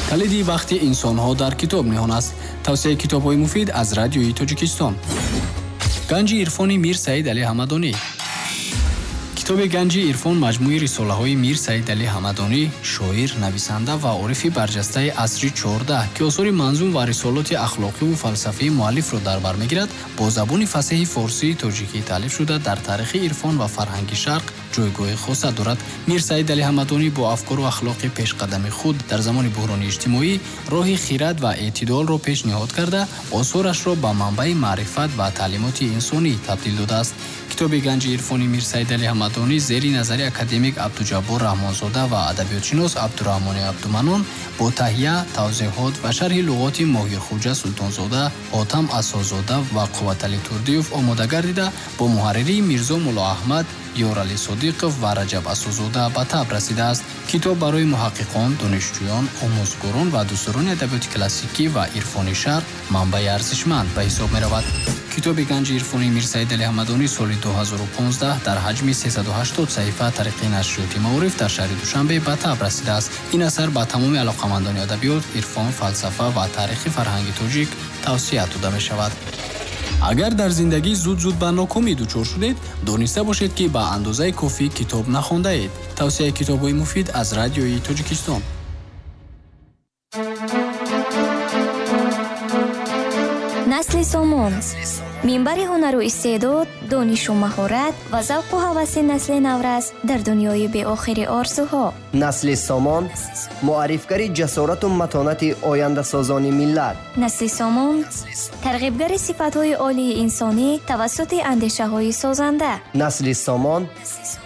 Калиди бахти инсонҳо дар китоб ниҳон аст. Тавсияи китобҳои муфид аз Радиои Тоҷикистон. Ганҷи ирфони Мир Саид Али Ҳамадонӣ. Китоби Ганҷи ирфон маҷмӯи рисолаҳои Мир Саид Али Ҳамадонӣ, шоир, нависанда ва орифи барҷастаи асри 14, ки осори манзум ва рисолоти ахлоқиву фалсафии муаллифро дар бар мегирад, бо забони фасеҳи форсии тоҷикӣ таълиф шуда, дар таърихи ирфон ва фарҳанги шарқ ҷойгоҳи хоса дорад. Мир Саид Али Ҳамадонӣ бо афкору ахлоқи пешқадами худ дар замони буҳрони иҷтимоӣ роҳи хирад ва эътидолро пешниҳод карда, осорашро ба манбаи маърифат ва таълимоти инсонӣ табдил додааст. Китоби Ганҷи ирфони Мир Саид Али Ҳамадонӣ зери назари академик Абдуҷаббор Раҳмонзода ва адабиётшинос Абдураҳмони Абдуманон бо таҳия, тавзеҳот ва шарҳи луғоти Моҳирхуҷа Султонзода, Ҳотам Асозода ва Қувватали Турдиев омода гардида, бо муҳарририи Мирзо Муллоаҳмад, Ёрали Содиқов ва Раҷаб Асозода ба таб расидааст. Китоб барои муҳаққиқон, донишҷӯён, омӯзгорон ва дӯстдорони адабиёти классикӣ ва ирфони шарқ манбаи арзишманд ба ҳисоб меравад. Китоби Ганҷи ирфони Мир Саид Али Ҳамадонӣ соли 2015 дар ҳаҷми 380 саҳифа тариқи нашриёти Маориф дар шаҳри Душанбе ба таб расидааст. Ин асар ба тамоми алоқамандони адабиёт, ирфон, фалсафа ва таърихи фарҳанги тоҷик тавсия дода мешавад. Агар дар зиндагӣ зуд-зуд ба нокомӣ дучор шудед, дониста бошед, ки ба андозаи кофӣ китоб нахондаед. Тавсияи китобҳои муфид аз Радиои Тоҷикистон. Насли Сомон минбари ҳунару истеъдод, донишу маҳорат ва завқу ҳаваси насли наврас дар дунёи беохири орзуҳо. Насли Сомон муаррифгари ҷасорату матонати ояндасозони миллат. Насли Сомон тарғибгари сифатҳои олии инсонӣ тавассути андешаҳои созанда. Насли Сомон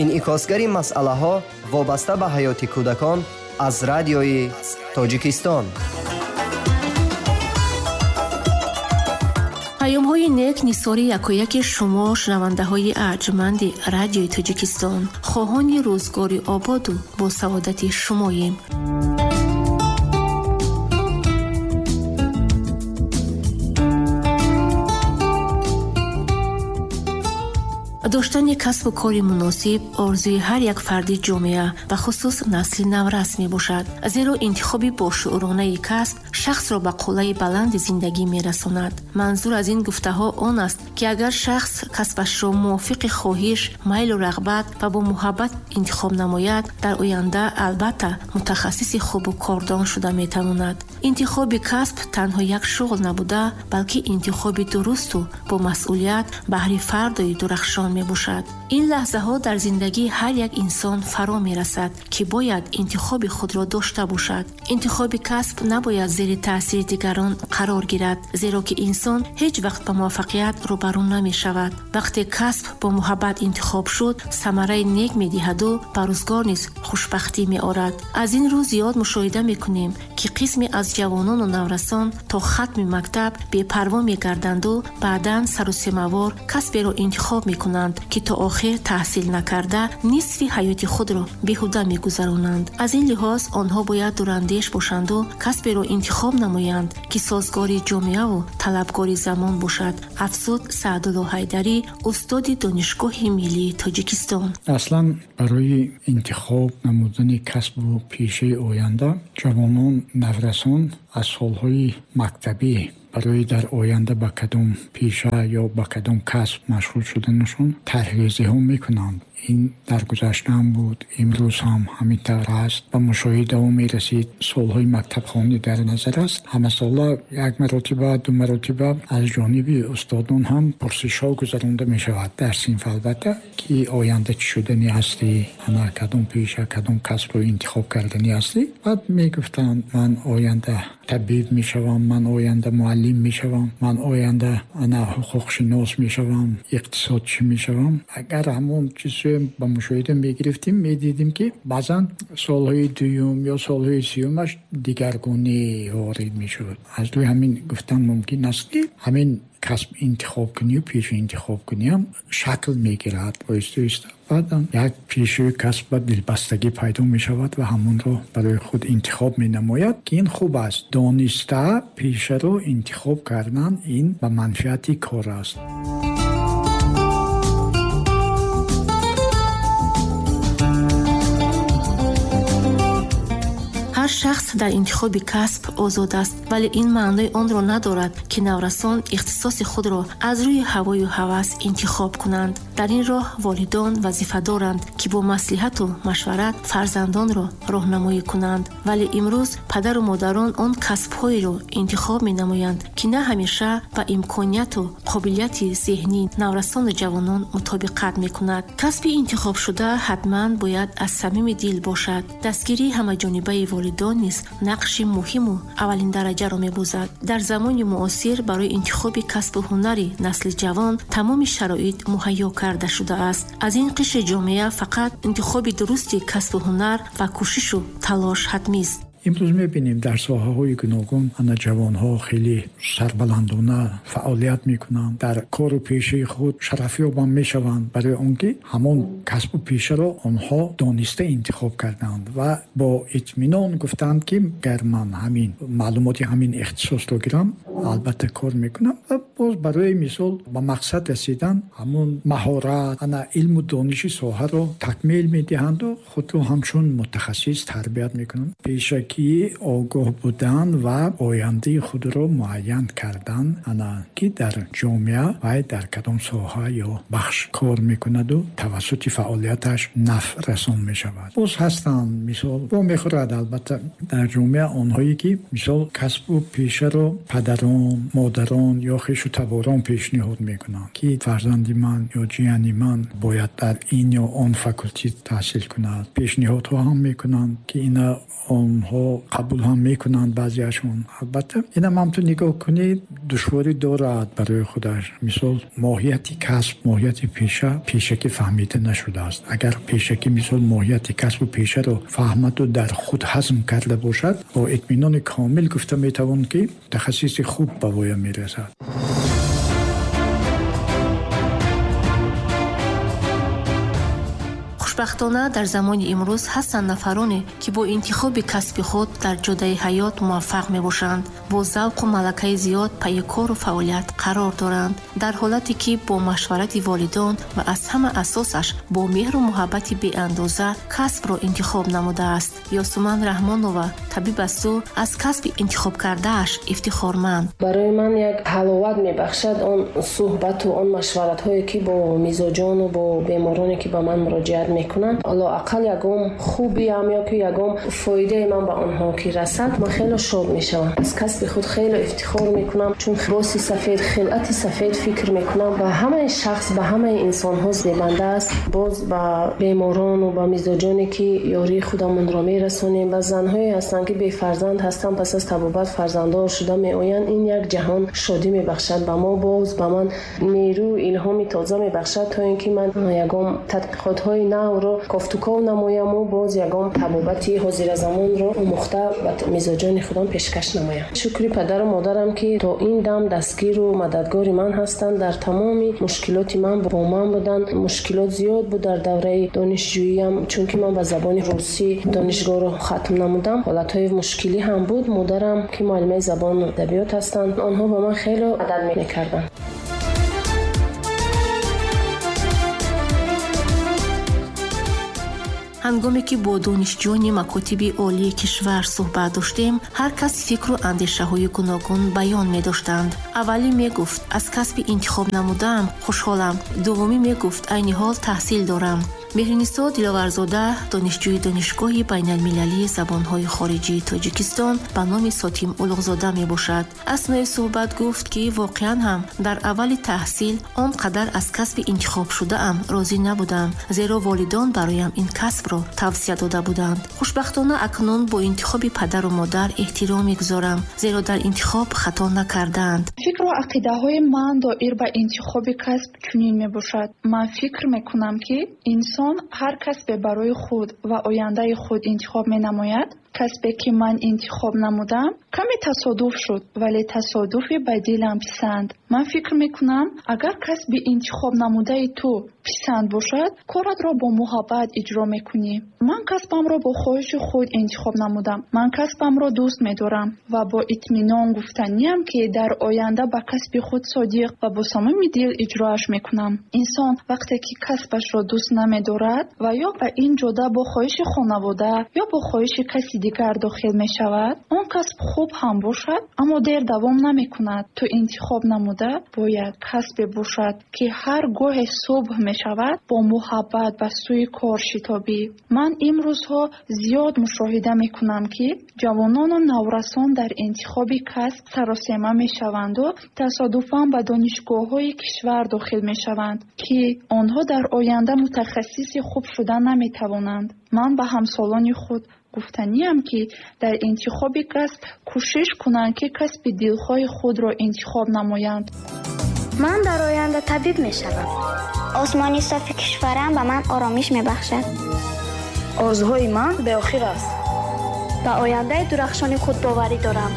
инъикосгари масъалаҳо вобаста ба ҳаёти кӯдакон аз Радиои Тоҷикистон. Паёмҳои нек нисори якояки шумо, шунавандаҳои арҷманди Радиои Тоҷикистон, хоҳони рӯзгори ободу бо саодати шумоем. Доштани касбу кори муносиб орзуи ҳар як фарди ҷомеа, бахусус насли наврас мебошад, зеро интихоби бошууронаи касб шахсро ба қуллаи баланди зиндагӣ мерасонад. Манзур аз ин гуфтаҳо он аст, ки агар шахс касбашро мувофиқи хоҳиш, майлу рағбат ва бо муҳаббат интихоб намояд, дар оянда албатта мутахассиси хубу кордон шуда метавонад. Интихоби касб танҳо як шуғл набуда, балки интихоби дурусту бо масъулият баҳри фардои дурахшон мебошад. Ин лаҳзаҳо дар зиндагии ҳар як инсон фаро мерасад, ки бояд интихоби худро дошта бошад. Интихоби касб набояд зери таъсири дигарон қарор гирад, зеро ки инсон ҳеҷ вақт ба муваффақият рӯбарӯ намешавад. Вақте касб бо муҳаббат интихоб шуд, самараи нек медиҳаду ба рӯзгор низ хушбахтӣ меорад. Аз ин рӯ зиёд мушоҳида мекунем, ки қисме аз ҷавонону наврасон то хатми мактаб бепарво мегарданду баъдан сарусемавор касберо интихоб мекунанд, ки то охир таҳсил накарда нисфи ҳаёти худро беҳуда мегузаронанд. Аз ин лиҳоз онҳо бояд дурандеш бошанду касберо интихоб намоянд, ки созгори ҷомеаву талабгори замон бошад, афзуд Саъдулло Ҳайдарӣ, устоди Донишгоҳи миллии Тоҷикистон. Аслан барои интихоб намудани касбу пешаи оянда ҷавонон, наврасон аз солҳои мактабӣ барои дар оянда ба кадом пеша ё ба кадом касб машғул шуданашон тарҳрезиҳо мекунанд. Ин дар гузашта ҳам буд, имрӯз ҳам ҳамин тавр аст. Ба мушоҳидаҳо мерасид, солҳои мактабхонӣ дар назар аст. Ҳамасола як маротиба, ду маротиба аз ҷониби устодон ҳам пурсишҳо гузаронда мешавад дар синф, албатта, ки оянда чӣ шуданӣ ҳастӣ, ана кадом пеша, кадом касбро интихоб карданӣ ҳастӣ. Баъд мегуфтанд, ман оянда табиб мешавам, ман оянда муаллим мешавам, ман оянда ана ҳуқуқшинос мешавам, иқтисодчӣ мешавам. Агар ҳамон чиз ба мушоҳида мегирифтем, медидем, ки баъзан солҳои дуюм ё солҳои сеюмаш дигаргунӣ ворид мешуд. Аз рӯи ҳамин гуфтан мумкин аст, ки ҳамин касб интихоб кунию пеша интихоб куниам шакл мегирад оҳиста оҳиста. Баъдан як пешаи касб ба дилбастагӣ пайдо мешавад ва ҳамонро барои худ интихоб менамояд, ки ин хуб аст. Дониста пешаро интихоб кардан ин ба манфиати кор аст. Ҳар Ҳар шахс дар интихоби касб озод аст, вале ин маънои онро надорад, ки наврасон ихтисоси худро аз рӯи ҳавою ҳавас интихоб кунанд. Дар ин роҳ волидон вазифа доранд, ки бо маслиҳату машварат фарзандонро роҳнамоӣ кунанд. Вале имрӯз падару модарон он касбҳоеро интихоб менамоянд, ки на ҳамеша ба имконияту қобилияти зеҳнии наврасону ҷавонон мутобиқат мекунад. Касби интихобшуда ҳатман бояд аз самими дил бошад. Дастгирии ҳамаҷонибаи волидон низ нақши муҳиму аввалиндараҷаро мебозад. Дар замони муосир барои интихоби касбу ҳунари насли ҷавон тамоми шароит муҳайё карда шудааст. Аз ин қишри ҷомеа фақат интихоби дурусти касбу ҳунар ва кӯшишу талош ҳатмист. Имрӯз мебинем дар соҳаҳои гуногун ана ҷавонҳо хеле сарбаландона фаъолият мекунанд, дар кору пешаи худ шарафёбам мешаванд, барои он ки ҳамон касбу пешаро онҳо дониста интихоб карданд ва бо итминон гуфтанд, ки гар ман ҳамин маълумоти ҳамин ихтисосро гирам, албатта кор мекунам. Ва боз барои мисол ба мақсад расидан ҳамон маҳорат, ана илму дониши соҳаро такмил медиҳанду худро ҳамчун мутахассис тарбият мекунанд. Пешакӣ огоҳ будан ва ояндаи худро муайян кардан, ана ки дар ҷомеа вай дар кадом соҳа ё бахш кор мекунаду тавассути фаъолияташ нафъ расон мешавад. Боз ҳастанд, мисол вомехӯрад албатта дар ҷомеа онҳое ки мисол касбу пешаро падарон, модарон ё хешу таборон пешниҳод мекунанд, ки фарзанди ман ё ҷияни ман бояд дар ин ё он факултет таҳсил кунад. Пешниҳодҳо ҳам мекунанд, ки ина онҳо қабул ҳам мекунанд баъзеашон. Албатта инам ҳам ту нигоҳ кунӣ душворӣ дорад барои худаш. Мисол моҳияти касб, моҳияти пеша пешакӣ фаҳмида нашудааст. Агар пешакӣ мисол моҳияти касбу пешаро фаҳмаду дар худ ҳазм карда бошад, бо итминони комил гуфта метавон, ки мутахассиси хуб ба воя мерасад. Хушбахтона дар замони имрӯз ҳастанд нафароне, ки бо интихоби касби худ дар ҷодаи ҳаёт муваффақ мебошанд, бо завқу малакаи зиёд пайи кору фаъолият қарор доранд, дар ҳолате ки бо машварати волидон ва аз ҳама асосаш бо меҳру муҳаббати беандоза касбро интихоб намудааст. Ёсуман Раҳмонова табиб асту аз касби интихобкардааш ифтихорманд. Барои ман як ҳаловат мебахшад он суҳбату он машваратҳое, ки бо мизоҷону бо бемороне, ки ба ман муроҷиат мекунанд, лоақал ягон хубиам ё ки ягон фоидаи ман ба онҳо ки расад, ман хеле шод мешавам. Аз касби худ хеле ифтихор мекунам, чун либоси сафед, хилъати сафед фикр мекунам ба ҳамаи шахс, ба ҳамаи инсонҳо зебанда аст. Боз ба беморону ба мизоҷоне, ки ёрии худамонро мерасонем, ба занҳое ҳастанд, ки бефарзанд ҳастанд, пас аз табобат фарзанддор шуда меоянд. Ин як ҷаҳон шодӣ мебахшад ба мо, боз ба ман нерӯ, илҳоми тоза мебахшад, то ин ки ман ягон тадқиқотҳои навро кофтуков намояму боз ягон табобати ҳозиразамонро омӯхта ба мизоҷони худам пешкаш намоям. Шукри падару модарам, ки то ин дам дастгиру мададгори ман ҳастанд, дар тамоми мушкилоти ман бо ман буданд. Мушкилот зиёд буд дар давраи донишҷӯиям, чунки ман ба забони русӣ донишгоҳро хатм намудам. Ҳолатҳои мушкилӣ ҳам буд. Модарам, ки муаллимаи забону адабиёт ҳастанд, онҳо ба ман хеле мадад мекарданд. Ҳангоме ки бо донишҷӯёни макотиби олии кишвар суҳбат доштем, ҳар кас фикру андешаҳои гуногун баён медоштанд. Аввалӣ мегуфт, аз касби интихоб намудаам хушҳолам. Дуввумӣ мегуфт, айни ҳол таҳсил дорам. Меҳринисо Диловарзода, донишҷӯи Донишгоҳи байналмилалии забонҳои хориҷии Тоҷикистон ба номи Сотим Улуғзода мебошад. Аснои суҳбат гуфт, ки воқеан ҳам дар аввали таҳсил он қадар аз касби интихобшудаам розӣ набудам, зеро волидон бароям ин касбро тавсия дода буданд. Хушбахтона акнун бо интихоби падару модар эҳтиром мегузорам, зеро дар интихоб хато накардаанд. Фикру ақидаҳои ман доир ба интихоби касб чунин мебошад. Ман фикр мекунам, ки инсон ҳар касбе барои худ ва ояндаи худ интихоб менамояд. Касбе ки ман интихоб намудам, каме тасодуф шуд, вале тасодуфи ба дилам писанд. Ман фикр мекунам, агар касби интихоб намудаи ту писанд бошад, коратро бо муҳаббат иҷро мекунӣ. Ман касбамро бо хоҳиши худ интихоб намудам. Ман касбамро дӯст медорам ва бо итминон гуфтаниям, ки дар оянда ба касби худ содиқ ва бо самими дил иҷроаш мекунам. Инсон вақте ки касбашро дӯст намедорад ва ё ба ин ҷода бо хоҳиши хонавода ё бо хоҳиши каси дигар дохил мешавад, он касб хуб ҳам бошад, аммо дер давом намекунад. Ту интихоб намуда бояд касбе бошад, ки ҳар гоҳе субҳ мешавад, бо муҳаббат ба сӯи кор шитобӣ. Ман имрӯзҳо зиёд мушоҳида мекунам, ки ҷавонону наврасон дар интихоби касб саросема мешаванду тасодуфан ба донишгоҳҳои кишвар дохил мешаванд, ки онҳо дар оянда мутахассиси хуб шуда наметавонанд. Ман ба ҳамсолони худ гуфтаниям, ки дар интихоби касб кӯшиш кунанд, ки касби дилхоҳи худро интихоб намоянд. Ман дар оянда табиб мешавам. Осмони софи кишварам ба ман оромиш мебахшад. Орзуҳои ман беохир аст. Ба ояндаи дурахшони худ боварӣ дорам.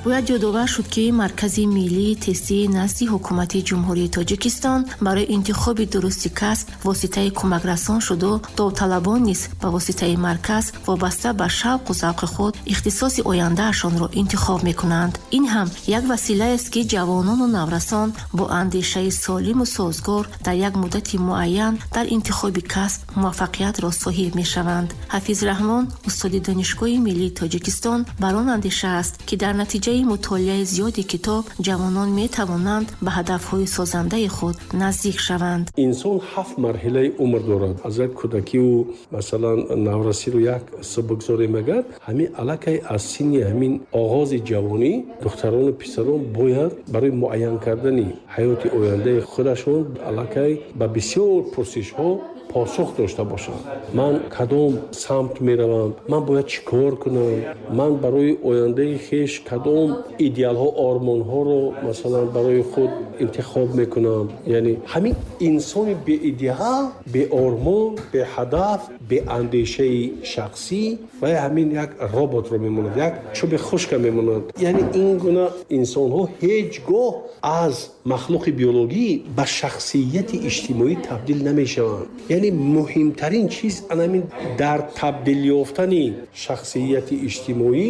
Бояд ёдовар шуд, ки Маркази миллии тестии назди Ҳукумати Ҷумҳурии Тоҷикистон барои интихоби дурусти касб воситаи кӯмакрасон шуду довталабон низ ба воситаи марказ вобаста ба шавқу завқи худ ихтисоси ояндаашонро интихоб мекунанд. Ин ҳам як василаест, ки ҷавонону наврасон бо андешаи солиму созгор дар як муддати муайян дар интихоби касб муваффақиятро соҳиб мешаванд. Ҳафиз Раҳмон, устоди Донишгоҳи миллии Тоҷикистон, бар он андеша аст, ки дар натиҷаи мутолиаи зиёди китоб ҷавонон метавонанд ба ҳадафҳои созандаи худ наздик шаванд. Инсон ҳафт марҳилаи умр дорад. Аз як кӯдакиву, масалан, наврасиро як бигзорем, агар ҳамин аллакай аз синни ҳамин оғози ҷавонӣ духтарону писарон бояд барои муайян кардани ҳаёти ояндаи худашон аллакай ба бисёр пурсишҳо посух дошта бошанд. Ман кадом самт меравам, ман бояд чӣ кор кунам, ман барои ояндаи хеш кадом идеалҳо, ормонҳоро, масалан, барои худ интихоб мекунам. Яъне ҳамин инсони беидеал, беормон, беҳадаф, беандешаи шахсӣ ва ҳамин як роботро мемонад, як чӯби хушка мемонад. Яъне ин гуна инсонҳо ҳеҷ гоҳ аз махлуқи биологӣ ба шахсияти иҷтимоӣ табдил намешаванд. Яъне муҳимтарин чиз анамин дар табдил ёфтани шахсияти иҷтимоӣ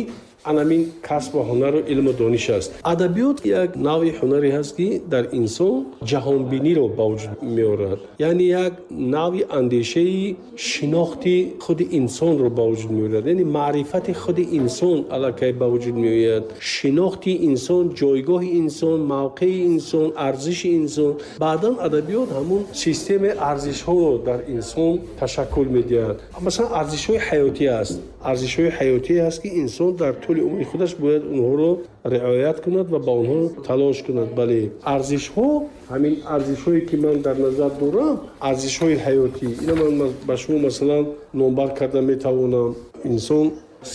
анамин касбу ҳунару илму дониш аст. Адабиёт як навъи ҳунаре ҳаст, ки дар инсон ҷаҳонбиниро ба вуҷуд меорад, яъне як навъи андешаи шинохти худи инсонро ба вуҷуд меорад, яъне маърифати худи инсон аллакай ба вуҷуд меояд, шинохти инсон, ҷойгоҳи инсон, мавқеи инсон, арзиши инсон. Баъдан адабиёт ҳамун системаи арзишҳоро дар инсон ташаккул медиҳад. Масалан, арзишҳои ҳаётӣ аст, арзишҳои ҳаётӣ аст, ки инсон дар тӯли умри худаш бояд онҳоро риоят кунад ва ба онҳо талош кунад. Бале, арзишҳо, ҳамин арзишҳое ки ман дар назар дорам, арзишҳои ҳаётӣ, ина ман ба шумо, масалан, номбар карда метавонам. Инсон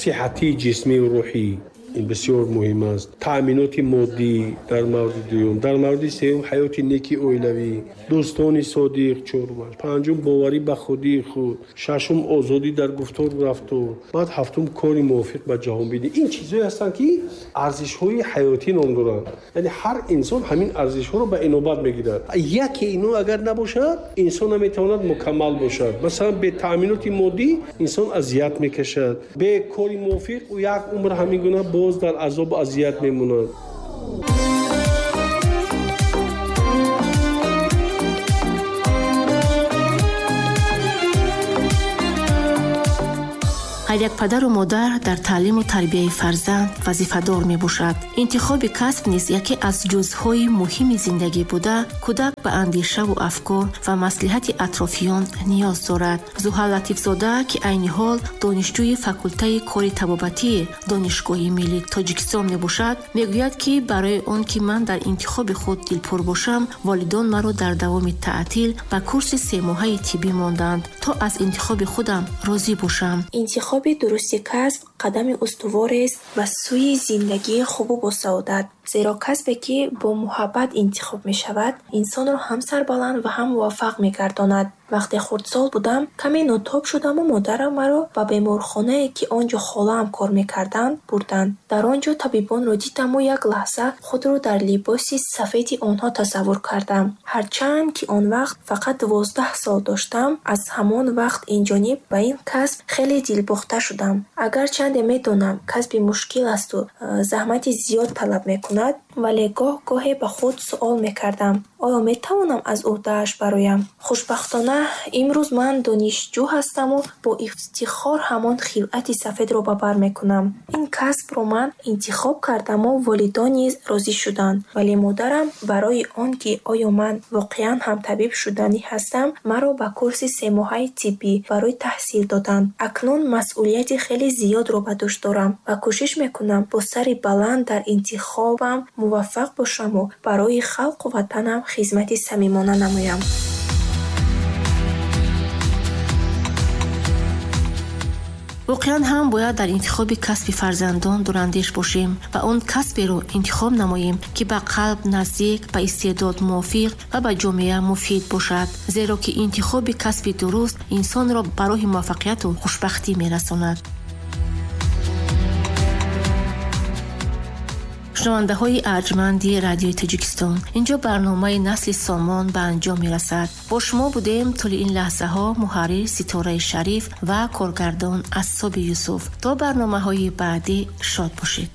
сиҳатии ҷисмию рӯҳӣ, ин бисёр муҳим аст, таъминоти моддӣ дар мавриди дуюм, дар мавриди сеюм ҳаёти неки оилавӣ, дӯстони содиқ чорумаш, панҷум боварӣ ба худии худ, шашум озодӣ дар гуфтору рафтор, баъд ҳафтум кори мувофиқ ба ҷаҳонбинӣ. Ин чизҳое ҳастанд, ки арзишҳои ҳаётӣ ном доранд. Яъне ҳар инсон ҳамин арзишҳоро ба инобат мегирад. Яке ино агар набошад, инсон наметавонад мукаммал бошад. Масалан, бе таъминоти моддӣ инсон азият мекашад, бе кори мувофиқ ӯ як умр ҳамин гуна боз дар азобу азият мемонад. Ҳар як падару модар дар таълиму тарбияи фарзанд вазифадор мебошад. Интихоби касб низ яке аз ҷузъҳои муҳими зиндагӣ буда, кӯдак ба андешаву афкор ва маслиҳати атрофиён ниёз дорад. Зуҳал Латифзода, ки айни ҳол донишҷӯи факултаи кори табобатии Донишгоҳи миллии Тоҷикистон мебошад, мегӯяд, ки барои он ки ман дар интихоби худ дилпур бошам, волидон маро дар давоми таътил ба курси семоҳаи тиббӣ монданд, то аз интихоби худам розӣ бошам. Интихоби дурусти касб қадами устуворест ба сӯи зиндагии хубу босаодат, зеро касбе, ки бо муҳаббат интихоб мешавад, инсонро ҳам сарбаланд ва ҳам муваффақ мегардонад. Вақте хурдсол будам, каме нотоб шудаму модарам маро ба беморхонае, ки он ҷо холаам кор мекарданд, бурданд. Дар он ҷо табибонро дидаму як лаҳза худро дар либоси сафеди онҳо тасаввур кардам. Ҳарчанд ки он вақт фақат 12 сол доштам, аз ҳамон вақт инҷониб ба ин касб хеле дилбохта шудам. Агарчанде медонам, касби мушкил асту заҳмати зиёд талаб мекунад, Вале гоҳ-гоҳе ба худ суол мекардам: оё метавонам аз ӯҳдааш бароям? Хушбахтона, имрӯз ман донишҷӯ ҳастаму бо ифтихор ҳамон хилъати сафедро ба бар мекунам. Ин касбро ман интихоб кардаму волидон низ розӣ шуданд. Вале модарам барои он ки оё ман воқеан ҳам табиб шуданӣ ҳастам, маро ба курси семоҳаи тиббӣ барои таҳсил доданд. Акнун масъулияти хеле зиёдро ба дӯш дорам ва кӯшиш мекунам бо сари баланд дар интихобам муваффақ бошаму барои халқу ватанам хизмати самимона намоям. Воқеан ҳам бояд дар интихоби касби фарзандон дурандеш бошем ва он касберо интихоб намоем, ки ба қалб наздик, ба истеъдод мувофиқ ва ба ҷомеа муфид бошад, зеро ки интихоби касби дуруст инсонро ба роҳи муваффақияту хушбахтӣ мерасонад. Шунавандаҳои арҷманди Радиои Тоҷикистон, инҷо барномаи Насли Сомон ба анҷом мерасад. Бо шумо будем тӯли ин лаҳзаҳо муҳаррир Ситораи Шариф ва коргардон Ассоби Юсуф. То барномаҳои баъдӣ шод бошед.